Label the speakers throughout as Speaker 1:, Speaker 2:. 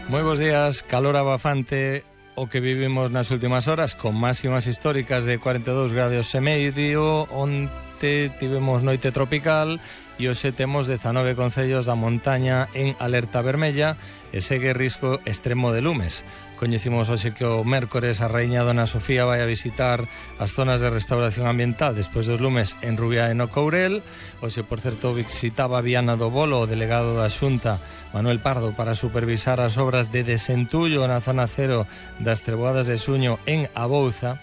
Speaker 1: Moi bons días, calor abafante o que vivimos nas últimas horas, con máximas históricas de 42 grados e medio. Onte tivemos noite tropical e hoxe temos 19 concellos da montaña en alerta vermella e segue risco extremo de lumes. Coñecimos hoxe que o mércores a raíña Dona Sofía vai a visitar as zonas de restauración ambiental despois dos lumes en Rubiá e no Courel. Hoxe, por certo, visitaba Viana do Bolo o delegado da Xunta, Manuel Pardo, para supervisar as obras de desentullo na zona cero das Treboadas de Suño en Abouza.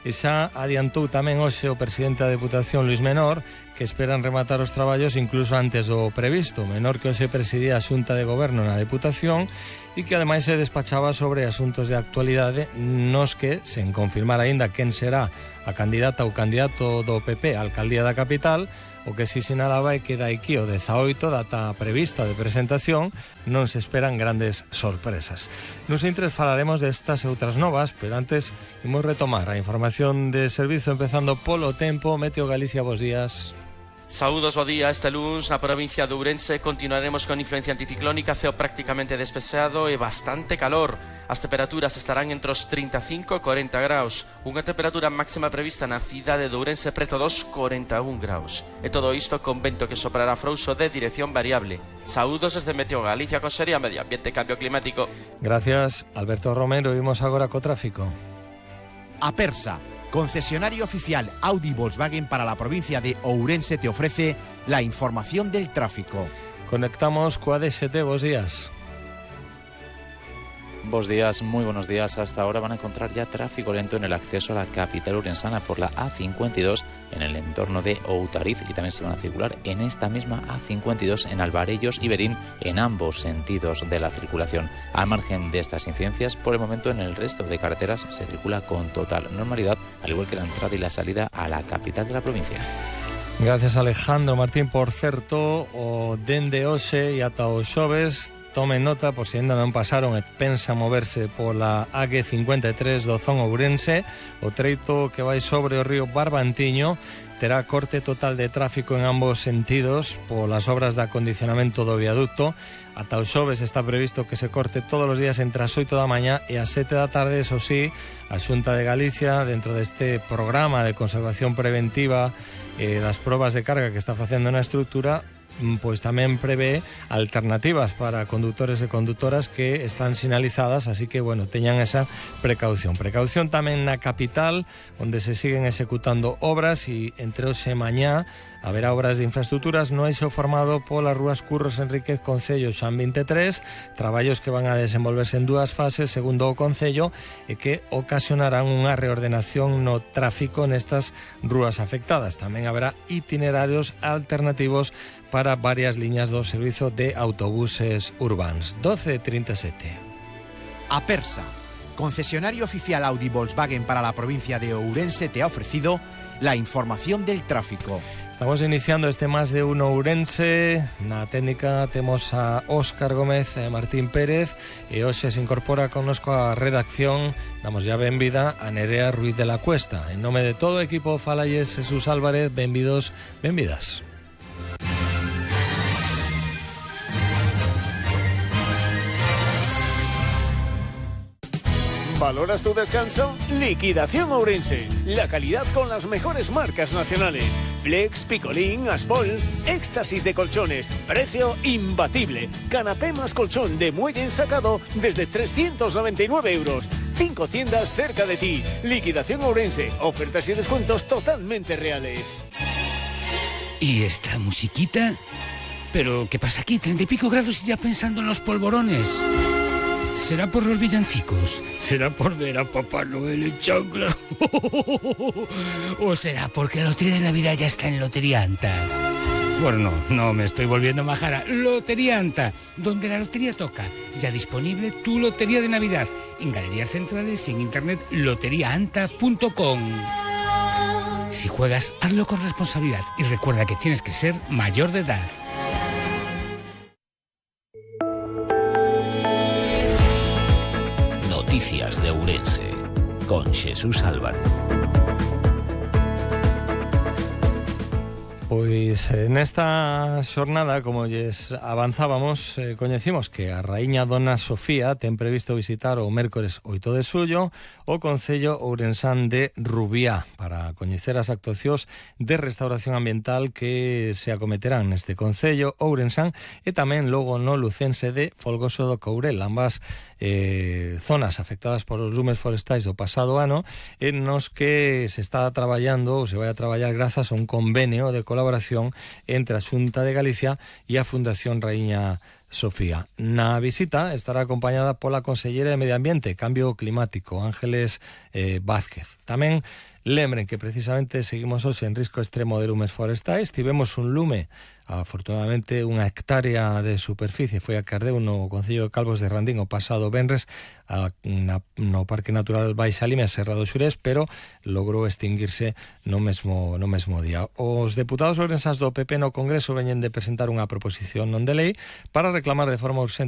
Speaker 1: E xa adiantou tamén hoxe o presidente da Deputación, Luis Menor, que esperan rematar os traballos incluso antes do previsto. Menor, que hoxe presidía a Xunta de Goberno na Deputación e que ademais se despachaba sobre asuntos de actualidade nos que, sen confirmar aínda quen será a candidata ou candidato do PP á alcaldía da capital, o que si sinalaba é que daqui o 18, data prevista de presentación, non se esperan grandes sorpresas. Nos intres falaremos destas e outras novas, pero antes imos retomar a información de servizo empezando polo tempo. Meteo Galicia, bos días.
Speaker 2: Saúdos, bo día. Este luns na provincia de Ourense continuaremos con influencia anticiclónica, ceo prácticamente despexado e bastante calor. As temperaturas estarán entre os 35 e 40 graus. Unha temperatura máxima prevista na cidade de Ourense preto dos 41 graus. E todo isto con vento que soprará frouxo de dirección variable. Saúdos desde Meteo Galicia, Consellería Medio Ambiente e Cambio Climático.
Speaker 1: Gracias, Alberto Romero. Vimos agora co tráfico.
Speaker 3: Apersa, concesionario oficial Audi Volkswagen para la provincia de Ourense, te ofrece la información del tráfico.
Speaker 1: Conectamos coa DXT, bos días.
Speaker 4: Bos días, muy buenos días. Hasta ahora van a encontrar ya tráfico lento en el acceso a la capital urensana por la A52 en el entorno de Outariz, y también se van a circular en esta misma A52 en Alvarellos y Berín en ambos sentidos de la circulación. Al margen de estas incidencias, por el momento en el resto de carreteras se circula con total normalidad, al igual que la entrada y la salida a la capital de la provincia.
Speaker 1: Gracias, Alejandro Martín. Por certo, o dende hoxe e ata o xoves, tomen nota, por si ainda non pasaron e pensa moverse pola AG53 do Zón Ourense, o treito que vai sobre o río Barbantiño terá corte total de tráfico en ambos sentidos polas obras de acondicionamento do viaducto. Ata o xoves está previsto que se corte todos os días entre as 8 da mañá e as 7 da tarde. Eso sí, a Xunta de Galicia, dentro deste programa de conservación preventiva das probas de carga que está facendo na estrutura, pois tamén prevé alternativas para conductores e conductoras que están sinalizadas, así que, bueno, teñan esa precaución. Precaución tamén na capital, onde se siguen executando obras, e entre hoxe e mañá haberá obras de infraestructuras no eixo formado polas rúas Curros Enríquez Concello Xan 23, traballos que van a desenvolverse en dúas fases, segundo o Concello, e que ocasionarán unha reordenación no tráfico nestas rúas afectadas. Tamén haberá itinerarios alternativos para varias liñas do servizo de autobuses urbanos. 12:37.
Speaker 3: Apersa, concesionario oficial Audi Volkswagen para la provincia de Ourense, te ha ofrecido la información del tráfico.
Speaker 1: Estamos iniciando este Más de Uno Ourense. Na técnica temos a Óscar Gómez e Martín Pérez, e hoxe se incorpora connosco a redacción. Damos ya benvida a Nerea Ruiz de la Cuesta. En nome de todo o equipo, falalles Jesús Álvarez. Benvidos, benvidas.
Speaker 5: ¿Valoras tu descanso? Liquidación Ourense. La calidad con las mejores marcas nacionales. Flex, Picolín, Aspol, éxtasis de colchones. Precio imbatible. Canapé más colchón de muelle ensacado desde 399 euros. 5 tiendas cerca de ti. Liquidación Ourense. Ofertas y descuentos totalmente reales.
Speaker 6: ¿Y esta musiquita? ¿Pero qué pasa aquí? 30 y pico grados y ya pensando en los polvorones. ¿Será por los villancicos? ¿Será por ver a Papá Noel en chancla? ¿O será porque la lotería de Navidad ya está en Lotería Anta? Bueno, no me estoy volviendo majara. Lotería Anta, donde la lotería toca. Ya disponible tu lotería de Navidad. En galerías centrales y en internet loteriaanta.com. Si juegas, hazlo con responsabilidad y recuerda que tienes que ser mayor de edad.
Speaker 7: Noticias de Ourense con Jesús Álvarez.
Speaker 1: Pois nesta xornada, como lles avanzábamos, coñecimos que a raíña Dona Sofía ten previsto visitar o mércores 8 de xullo o Concello ourensán de Rubiá para coñecer as actuacións de restauración ambiental que se acometerán neste Concello ourensán e tamén logo no lucense de Folgoso do Courel, ambas zonas afectadas por os lumes forestais do pasado ano, en nos que se está traballando ou se vai a traballar grazas a un convenio de colaboración entre a Xunta de Galicia e a Fundación Raíña Sofía. Na visita estará acompañada pola Consellera de Medio Ambiente e Cambio Climático, Ángeles Vázquez. Tamén lembren que precisamente seguimos hoxe en risco extremo de lumes forestais. Tivemos un lume, afortunadamente unha hectárea de superficie foi a que ardeu no Concello de Calvos de Randín o pasado venres no Parque Natural Baixa Limia, Serra do Xurés, pero logrou extinguirse no mesmo día. Os deputados ourensáns do PP no Congreso veñen de presentar unha proposición non de lei para reclamar de forma urxente